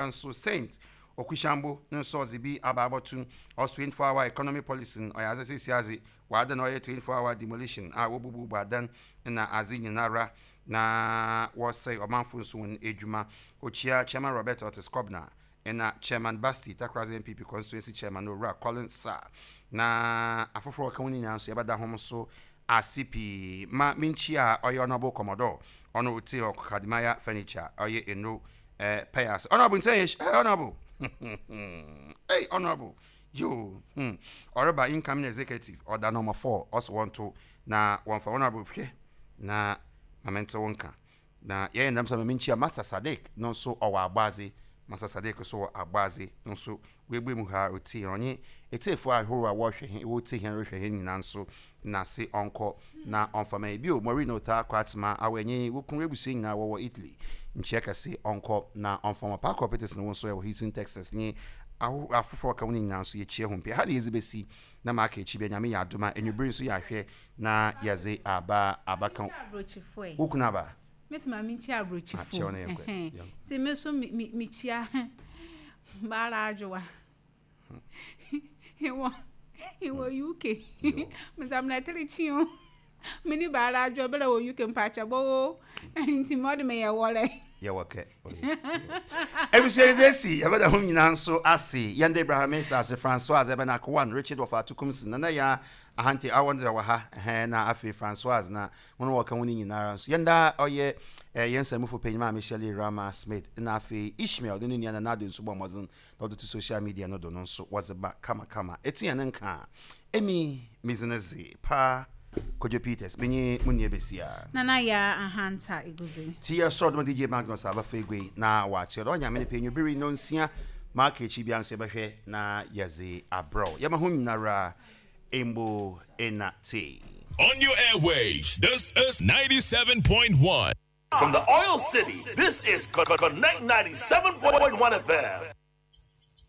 Nso Saint Okushambo no so ɔdze bi aba abɔto ɔs 24 hour economy policy no, ɔyɛ adze sesei adze wɔadan ɔyɛ 24 hour demolition a wobububu adan na adze nyinara na wɔsɛe ɔmanfo nso hɔn edwuma. Okyia Chairman Robert Otis Kobna na Chairman Basti Takoradi NPP Constituency Chairman Owura Collins Sarr na afofor a wɔka ho nyinaa nso yɛbɛda hom so ase pii. Ma minkyia ɔyɛ Honourable Commodore ɔno otse hɔ Kadimaya Furniture ɔyɛ Eno eh, pɛyɛ ase. Honourable ntsɛn yɛ eh, Honourable hey Honourable yo hmm ɔreba incoming executive ɔda number 4 ɔse wɔnto na wɔmfa Honourable hwɛ na ma mente wo nka. Na yɛyɛ ndɛm so a ma minkyia Master Sadiq no so ɔwɔ Abɔadze, Master Sadiq so wɔ Abɔadze no so oebue mu ha otsie hɛn, ɔnye etsiefo ahorow a wɔhwɛ hɛn wotsie hɛn rohwɛ hɛn nyina so n'ase ɔnkɔ na ɔmfa ma hɛn. Bio, Maureen Otaa Kwartema, awɔ enye wo kun w'ebusua nyina wɔwɔ Italy, nkyia kɛse ɔnkɔ na ɔmfa ma Parker Peterson wo so wɔ Houston, Texas nye ahohow afofor a ɔka ho no nyina so yekyia hom pii. Ha na yɛdze besi na ma aka ekyir bia Nyame yɛ adom a ewimbir so yɛahwɛ na yɛdze aba abaka wo kunu aba. Mesi ma menkyia aburokyifo. Nti me nso mekyia Baara Adwowa. Wɔ wɔ UK. Mesamina tiri kyi o. Mene Baara Adwowa bɛrɛ wɔ UK mpakyɛ bɔ o. Nti mo de me yɛ wɔlɛ. Yɛwɔ kɛ. Ebusua yi dze esi yɛbɛda hom nyina nso ase. Yɛn de Abraham Mensah ase, Francois Ebenak One, Richard Wɔfa Atukumsi, Nana Yaa Ahante awɔ no dza wɔ ha, ɛhɛn, na afei Francoise na hɔn a wɔka ho no nyinara so. Yɛn daa ɔyɛ hɛn nsamufo panyin Maame Shirley Rama Smith na afei Ishmael ne no nua Nana Addo nso bɔɔ mbɔdzen na wɔdze to social media no do no nso wɔdze ba kamakama. Etse hɛn nka a, emi me dzin dze Pa Kojo Peters, menye mo nua basia. Nana Yaa Ahanta Eguzi. Tsi yɛ sor do ma DJ Magnus a ɔbɛfa egua yi na ɔatsew do. Ɔnyɛ Nyame ne pɛ, enyimber yi ndɔnsia ma aka ekyir biara nso yɛbɛhwɛ na yɛdze abrɛ wo. Yɛma hom nyinara Mbo ena tee. On your airwaves, this is 97.1. From the Oil City, this is Connect 97.1 FM.